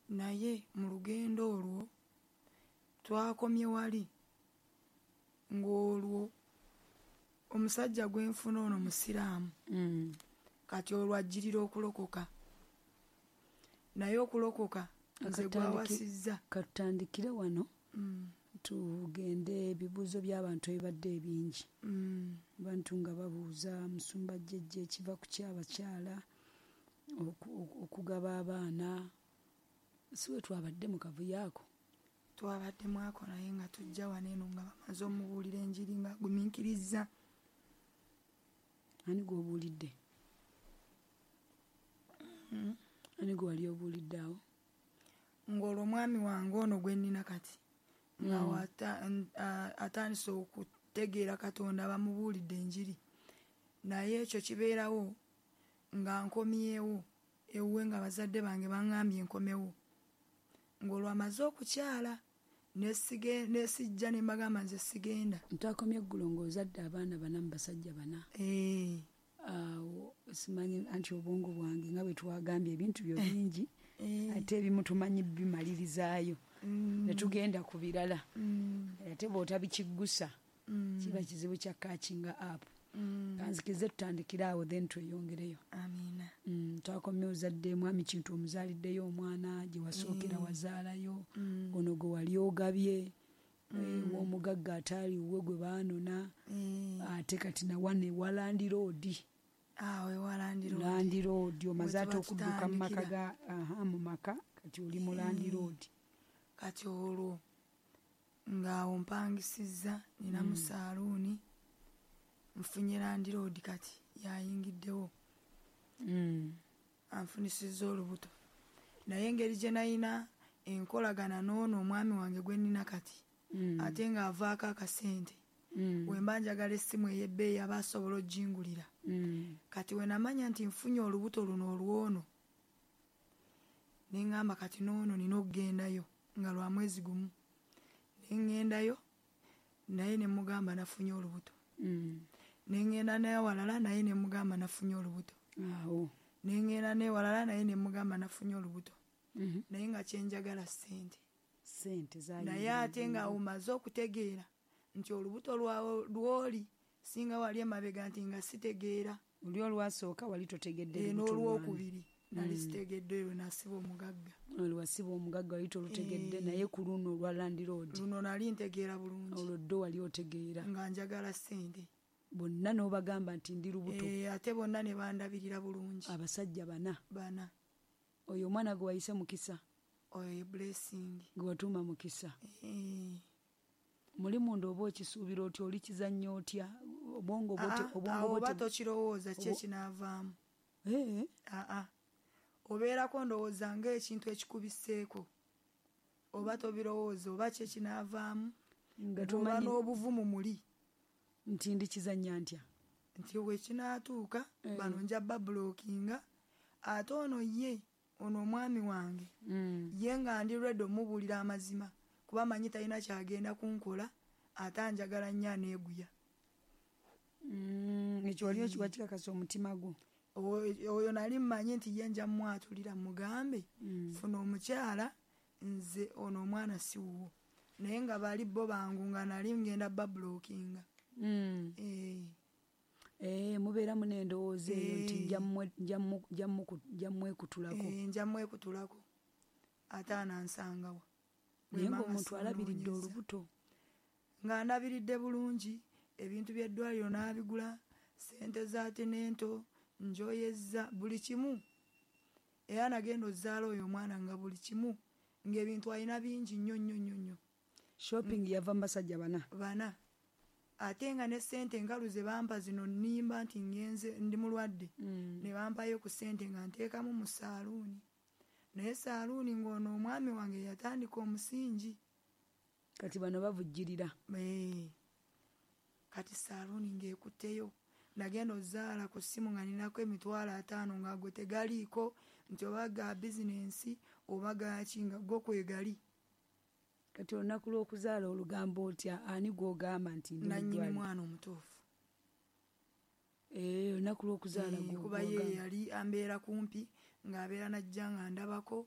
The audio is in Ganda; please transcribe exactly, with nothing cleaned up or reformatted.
Naye mu lugendo olwo twakomye wali ng'olwo omusajja gwenfuna ono musiraamu. Mm. Kati olwo ajjirira okulokoka, naye okulokoka nze gwawasizza. Katutandikire wano. Mm. Tugende ebibuuzo by'abantu ebibadde ebingi. Mm. Abantu nga babuuza musumba jjejja ekiva ku kyabakyala okugaba abaana. Si we twabadde mu kavuyo ako? Twabaddemu ako, naye nga tujja wano eno nga bamaze omubuulira enjiri nga agumiikirizza. Ani gw'obuulidde? Mm. Ani gwe wali obuulidde awo? Ng'olwo omwami wange ono gwe nnina kati nga Mm. atandise okutegeera Katonda, bamubuulidde enjiri. Naye ekyo kibeerawo nga nkomyewo ewuwe nga bazadde bange baŋŋambye nkomewo. Ng'olwo amaze okukyala nesijja ne mbagamba nze sigenda. Ntwakomye eggulo ng'ozadde abaana bana mu basajja bana. Eh. Awo simanyi anti obwongo bwange nga bwe twagambye ebintu byo bingi, Eh. ate ebimu tumanyi bimalirizaayo. Mm. Ne tugenda ku birala. Mm. Ate bw'otabikiggusa, Mm. kiba kizibu kya catching up. Mm. Kanzikirize tutandikire awo then tweyongereyo. Amiina. Mm, twakomye ozadde mwami Kintu omuzaaliddeyo omwana gye wasookera Mm. wazaalayo. Mm. Ono gwe wali ogabye, Mm. eh, ow'omugagga ataaliwo gwe baanona. Mm. Ate kati nawa ne wa landiroodi. Awo ewa landiroodi. Landiroodi, omaze ate Bwe okudduka mu maka tutandikira. ga, aha, mu maka, kati oli mu Mm. landiroodi. Kati olwo ng'awo mpangisizza, nina mu Mm. saaluuni, nfunye landiroodi kati yayingiddewo. Mm. Anfunisizza olubuto. Naye engeri gye nalina enkolagana n'ono omwami wange gwe nnina kati, Mm. ate ng'avaako akasente. Mm. Bwe mba njagala essimu ey'ebbeeyi aba asobola oggingulira. Mm. Kati we namanya nti nfunye olubuto luno olw'ono, ne ŋŋamba kati n'ono nina okugendayo nga lwa mwezi gumu. Ne ŋŋendayo naye ne mugamba nafunye olubuto. Mm. Ne ŋŋenda n'ewalala naye ne mugamba nafunye olubuto. Awo. Ne ŋŋenda n'ewalala naye ne mugamba nafunye olubuto. Mm-hmm. Naye nga kye njagala ssente. Ssente zaali Naye ate nga omaze okutegeera nti olubuto lwawo lw'oli singa wali emabega nti nga sitegeera. Oli olwasooka wali totegedde Eh, lubuto n'olwokubiri nali Mm. sitegedde lwe nasiba omugagga. Olwo wasiba omugagga wali tolutegedde, Eh. naye ku luno olwa landiroodi. Luno nali ntegeera bulungi. Olwo ddo wali otegeera. Nga njagala ssente. Bonna n'obagamba nti ndi lubuto. Eh, ate bonna ne bandabirira bulungi. Abasajja bana. Bana. Oyo omwana gwe wayise Mukisa. Oyo ye Blessing. Gwe watuuma Mukisa. Eh. Muli munda oba okisuubira otya, oli kizannya otya? Obwongo bwote, Ah, obwongo awo bwote oba tokirowooza ki Obo- ekinaavaamu. Eh. Ah, ah. Obeerako ndowooza ng'ekintu ekikubiseeko. Oba tobirowooza oba ki ekinaavaamu. Nga Bw'oba tomanyi n'obuvumu muli. Nti ndi kizannya ntya? Nti we kinaatuuka, Eh. bano nja babulokinga. Ate ono ye, ono omwami wange. Mm. Ye nga ndi ready omubuulira amazima. Kuba manyi talina kyagenda kunkola, ate anjagala nnyo aneeguya. Mm, ekyo wali okiwa kikakasa omutima gwo? Oyo, oyo nali mmanyi nti ye nja mmwatulira mugambe, Mm. funa omukyala, nze ono omwana si wuwo. Naye nga bali bo bangu nga nali ngenda babulokinga. Mm. Eh. Eh, mubeeramu n'endowooza eyo nti Eh. nja mmwe-, nja mmu-, nja mmu-, nja mmwekutulako. Eh, nja mmwekutulako. Ate anansangawa. Naye Bwe mba ng'omuntu nga alabiridde simunoonyeza. olubuto. Nga ndabiridde bulungi, ebintu by'eddwaliro n'abigula, ssente za tenento, njoyezza buli kimu. Era nagenda ozaala oyo omwana nga buli kimu, ng'ebintu alina bingi nnyo nnyo nnyo nnyo. Shopping yava mu basajja bana. Bana. Ate nga ne ssente enkalu ze bampa zino nnimba nti ngenze ndi mulwadde. Mm. Ne bampayo ku ssente nga nteekamu mu saaluuni. Naye saaluuni ng'ono omwami wange yatandika omusingi. Kati bano bavujjirira. Eh. Kati saaluuni ng'ekutteyo. Nagenda ozaala ku ssimu nga ninako emitwalo ataano nga gwe tegaliiko nti oba ga bizinensi oba ga ki nga go kwe gali. Kati olunaku lw'okuzaala olugamba otya? Ani gw'ogamba nti ndi Nannyini muddwaliro? mwana omutuufu. Eh, olunaku lw'okuzaala Eh, gwe kuba ye gw'ogamba. yali ambeera kumpi ng'abeera n'ajja nga ndabako.